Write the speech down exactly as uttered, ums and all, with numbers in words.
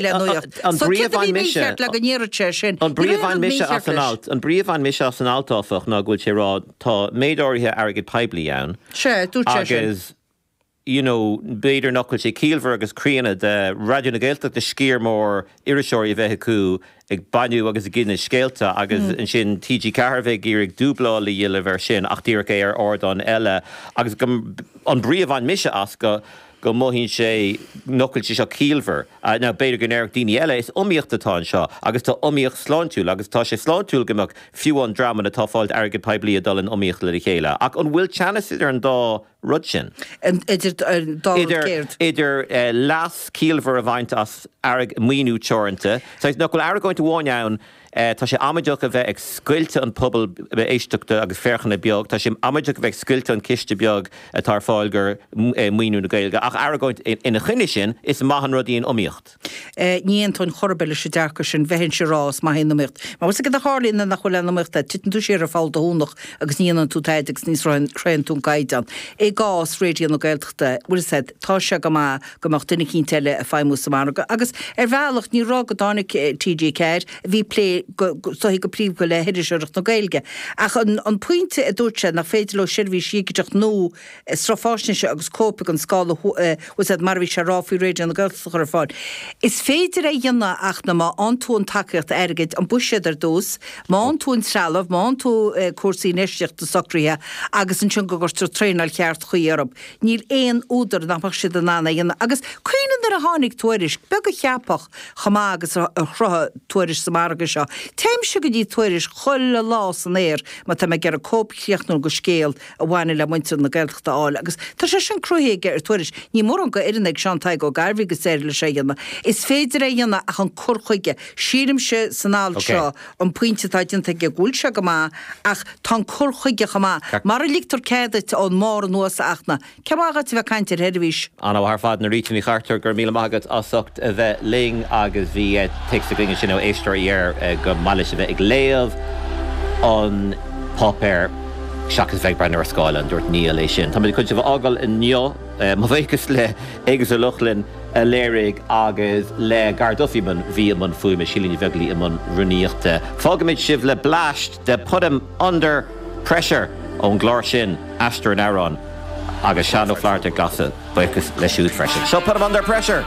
le nuacht. An So brí a céard a bhain bhí mise- mícheart le go ndéarfadh sé sin? An Ní brí a raibh bhain rud mise as mícheart an leis. alt, an brí a bhain mise as an alt áfach ná go bhfuil sé rá tá méid áirithe airgead poiblí ann. Sé, dúirt sé sin. agus you know, b'fhéidir nach bhfuil sé ciallmhar agus críonna de Raidió na Gaeltachta sciar mór iriseoirí a bheith acu ag bailiú agus ag ginteadh scéalta agus mm. ansin TG Ceathair bheith ag iarraidh dúbláil a dhéanamh air sin ach díreach é ar ardán eile agus go, an brí a bhain mise as go go mothaíonn sé nach bhfuil sé seo ciallmhar. Uh, now b'fhéidir go ndéarfadh daoine eile is iomaíocht atá anseo agus tá iomaíocht sláintiúil agus tá sé sláintiúil go mbeadh fiú an dreamanna atá ag fáil airgead poiblí ag dul in iomaíocht le chéile. Ach an bhfuil teannas idir an dá rud sin? An- Idir an dá rud idir céard. idir uh, leas ciallmhar a bhaint as airg maoiniú teoranta. So nach bhfuil argóint amháin ann uh, tá sé amaideach a bheith ag scoilteadh an pobal éisteachta agus féachana beag, Tá sé amaideach a bheith ag scoilteadh an ciste beag atá ar fáil gur uh, maoiniú na Gaeilge. Ach argóint ina choinne sin is maith an rud í an iomaíocht. Eh, ní aontóinn chor ar bith leis an dearcadh sin bheith sé rá is maith an iomaíocht. Ma go a tharlaíonn nach bhfuil an iomaíocht titeann tú siar ar pholl do thónach agus ní dhéanann tú tada agus ní shroicheann tú an caighdeán. I gcás Raidió na Gaeltachta bhfuil said tá sé go maith go mbeadh duine eicínt eile ag feidhmiú sa mhargadh. Agus ar bhealach ní rá go dtáinig eh, TG Ceathair bhí plé go soí go príomha le hiriseoireacht na Gaeilge. Ach an, an pointe a dúirt sé nach féidir leo seirbhís dhigiteach nó eh, sruth faisnéise agus cóip an scála úsáid mar bhí sé rá faoi Raidió na Gaeltachta chur ar fáil. Is féidir é dhéanamh ach na má fhaigheann tú an tacaíocht airgid an buiséad ar dtús, má fhaigheann tú an trealamh, má fhaigheann tú eh, cúrsaí infheistíochta socraithe agus ansin go gcuirtear traenáil cheart chuí orthu. Níl aon údar nach mbeadh siad in ann é dhéanamh. Agus cuimhnigh nuair a tháinig Tuairisc, beag a cheapfadh chomh maith agus a a chruthaigh Tuairisc sa margadh seo. Téimse go dtí Tuairisc chuile lá san aer má tá mé ag iarraidh cóip chríochnúil de scéal a bhaineann le muintir na Gaeltachta a fháil, agus tá sé sin cruthaithe ar Tuairisc. Ní mórán go fhoireann ag Seán Tadhg Ó Gairbhí agus éir le sé dhéanamh. Is féidir é dhéanamh ach an cur chuige. Sílimse san alt Okay. seo an pointe atá déanta aige go bhfuil sé go maith ach tá an cur chuige chomh maith. Mar a ligtear cead ón mbarr anuas achna. Ce má a bheith caint ar sheirbhís. Anna thar fad na ríta ní chartar gur míle maith agat as ucht a bheith linn agus bhí téacs againn sin ó éisteoir ar go mailis a bheith ag léamh an páipéar seachas bheith breathnú ar scáileán dúirt Níl é sin. Tá chun sibh a fhágáil inniu mo bhuíochas le Agus Ó Lochlainn a léirigh agus le Gar Duffyman bhí an fuaime Sílíní Bheaglaí i mbun rúnaíochta. Fágaimid sibh le bleaist de Put 'em Under Pressure ón gclár sin Aistear an Amhráin agus Seán Ó Flatharta Glasa buíochas leis siúd freisin. So put 'em under pressure!